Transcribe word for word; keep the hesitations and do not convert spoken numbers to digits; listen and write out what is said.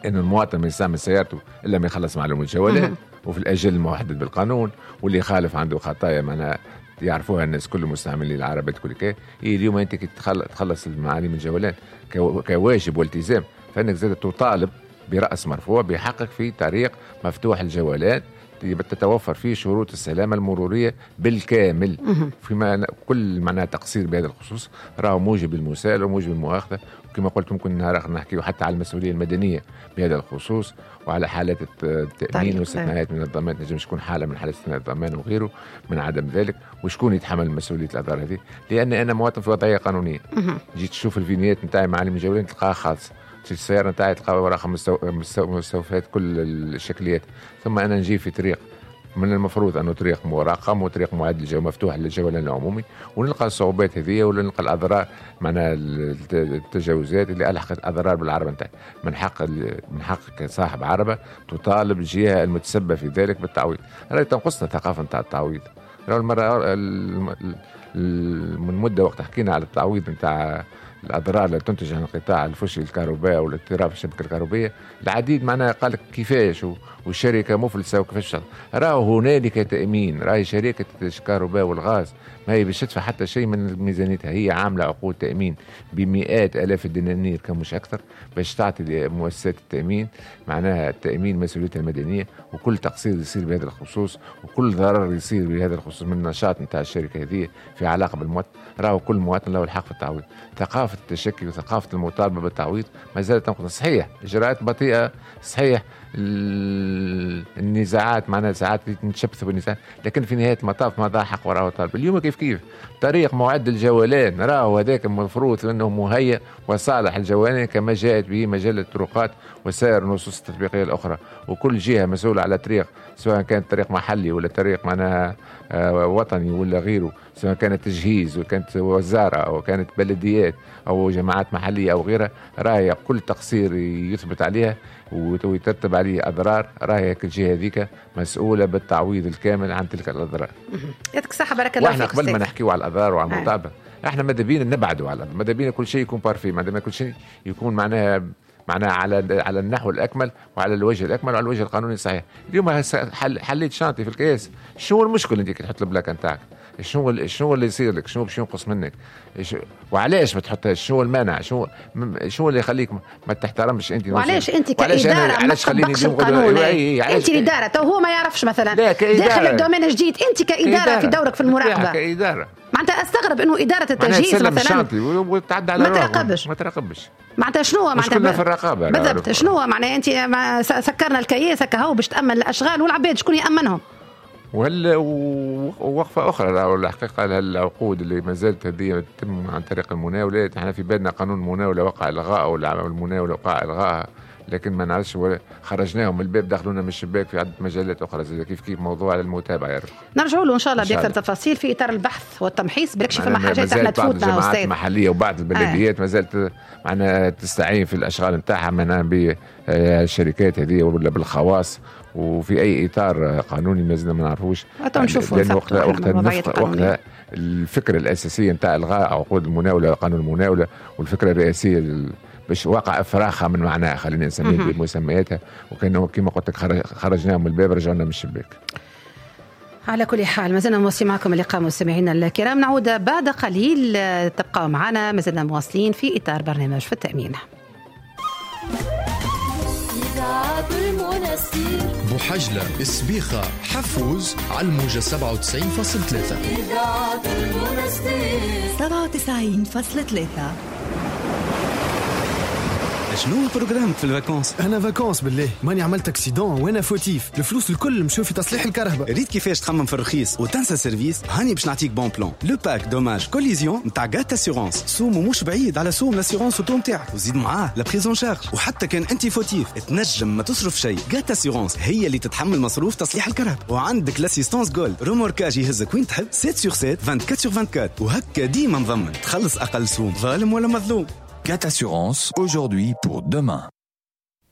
انه المواطن ما يستعمل سيارته الا ما يخلص معلوم الجولان وفي الاجل المحدد بالقانون، واللي يخالف عنده خطايا معناها يعرفوها الناس كل مستعملين العربات كل كي. اليوم انت كي تخلص المعاليم الجولان كواجب والتزام، فانك زاد تطالب براس مرفوع بحقك في طريق مفتوح الجولان تتوفر فيه شروط السلامة المرورية بالكامل. فيما كل معناها تقصير بهذا الخصوص راهو موجب المساءلة وموجب المؤاخذة، وكما قلت ممكن نهار آخر نحكيه حتى على المسؤولية المدنية بهذا الخصوص وعلى حالات التأمين واستثناءات من الضمان، تنجم تكون حالة من حالات استثناء الضمان وغيره من عدم ذلك، وشكون يتحمل مسؤولية الأضرار هذه؟ لأن أنا مواطن في وضعية قانونية، جيت تشوف ال vignette نتاعي معالم الجولان تلقاها خالص، السيارة نتاعي تلقى وراها مستوفات كل الشكليات، ثم أنا نجي في طريق من المفروض أنه طريق مراقم وطريق معد للجو مفتوح للجولان العمومي، ونلقى الصعوبات هذه ولا نلقى الأضرار معناها التجاوزات اللي ألحقت أضرار بالعربة نتاعي. من حق من حقك صاحب عربة تطالب الجهة المتسببة في ذلك بالتعويض. راهي تنقصنا ثقافة نتاع التعويض. راهو المرة من مدة وقت حكينا على التعويض نتاع الأضرار اللي تنتج عن انقطاع الفشل الكهربائي والاضطراب في الشبكة الكهربائية، العديد معناها قال لك كيفاش والشركة مفلسة وكيفاش. راهو هنالك تأمين، راهي شركة الكهرباء والغاز ما هي باش تدفع حتى شيء من ميزانيتها، هي عاملة عقود تأمين بمئات آلاف الدنانير كمش أكثر باش تعطي لمؤسسات التأمين معناها التأمين مسؤوليتها المدنية، وكل تقصير يصير بهذا الخصوص وكل ضرر يصير بهذا الخصوص من النشاط نتاع الشركة هذه في علاقة بالمواطن، راهو كل مواطن له الحق في التعويض. ثقافة التشكي وثقافة المطالبة بالتعويض ما زالت تنقص. صحيح إجراءات بطيئة، صحيح النزاعات معناها ساعات نتشبثوا بالنزاعات، لكن في نهاية المطاف ما ضاع حق وراه طالب. اليوم كيف كيف طريق معد الجولان راهو هذاك المفروض انه مهيئ وصالح الجولان كما جاءت به مجلة الطرقات وسائر النصوص التطبيقية الأخرى، وكل جهة مسؤولة على طريق سواء كان طريق محلي ولا طريق معناها وطني ولا غيره، سواء كانت تجهيز وكانت وزارة أو كانت بلديات أو جماعات محلية أو غيرها، راهي كل تقصير يثبت عليها ويترتب عليه أضرار، راهي الجهة هذيك مسؤولة بالتعويض الكامل عن تلك الأضرار. يعطيك الصحة، بارك الله فيك. واحنا قبل ما نحكيو على الأضرار وعلى المطالبة احنا ماذا بينا نبعدوا على، ماذا بينا كل شيء يكون parfait، ماذا بينا كل شيء يكون معناها معناها على على النحو الأكمل وعلى الوجه الأكمل وعلى الوجه القانوني الصحيح. اليوم حل حليت chantier في الكياس، شنو المشكل انت كي تحط ال plaque نتاعك؟ شنو شنو اللي يصير لك؟ شنو باش ينقص منك؟ وعلاش ما تحطهاش؟ شنو المانع؟ شنو شنو اللي يخليك ما تحترمش انت؟ وعلاش انت كإدارة ما تطبقش القانون؟ انت الإدارة تو هو ما يعرفش مثلا داخل ال domaine جديد، انت كإدارة, كإدارة في دورك في المراقبة كإدارة معناتها استغرب انه إدارة التجهيز مثلا وتعدى على ما تراقبش ما تراقبش معناتها شنو معناتها في الرقابة بالضبط؟ شنو معناها انت سكرنا الكياس هكا هو باش تأمن الأشغال والعباد شكون يأمنهم؟ وهل وقفة أخرى الحقيقة العقود اللي ما زالت هذه تتم عن طريق المناولات. احنا في بالنا قانون المناولة وقع إلغاء والمناولة وقع إلغاءها، لكن ما نعرفش خرجناهم من الباب دخلونا من الشباك في عدة مجالات أخرى زي كيف كيف موضوع على المتابعة. يا رب نرجعوا له إن شاء الله بأكثر تفاصيل في إطار البحث والتمحيص، بالكش فما حاجات احنا تفوتنا أستاذ. المحلية وبعض البلديات آه. ما زالت معنا تستعين في الأشغال نتاعها معناها بالشركات هذه ولا بالخواص، وفي أي إطار قانوني ما زلنا ما نعرفوش. نشوفوا وقتها وقتها وقتها الفكرة الأساسية نتاع إلغاء عقود المناولة قانون المناولة والفكرة الرئيسية باش وقع افراخها من معناها خلينا نسميها بمسمياتها، وكانه كما قلت لك خرجناهم من الباب رجعنا من الشباك. على كل حال ما زلنا مواصلين معكم اللقاء مستمعينا الكرام، نعود بعد قليل، تبقوا معنا ما زلنا مواصلين في إطار برنامج في التأمين. بوحجلة السبيخة حفوز على الموجة سبعة وتسعين فاصلة ثلاثة سبعة وتسعين فاصلة ثلاثة. شنو programme ك في ال vacances؟ انا vacances بالله ماني عملت accident وانا fautif، الفلوس الكل مشوا في تصليح الكهرباء. ريت كيفاش تخمم في الرخيص وتنسى service؟ هاني باش نعطيك bon plan، le pack dommages collision نتاع GAT Assurances، سومو مش بعيد على سوم l'assurance auto نتاعك، وزيد معاه la prise en charge، وحتى كان انت fautif تنجم ما تصرف شيء. GAT Assurances هي اللي تتحمل مصروف تصليح الكهرباء، وعندك l'assistance gold remorquage يهزك وين تحب سبعة sur سبعة أربعة وعشرين sur أربعة وعشرين، وهكا ديما مضمن تخلص اقل سوم ظالم ولا مظلوم. GAT Assurance, aujourd'hui pour demain.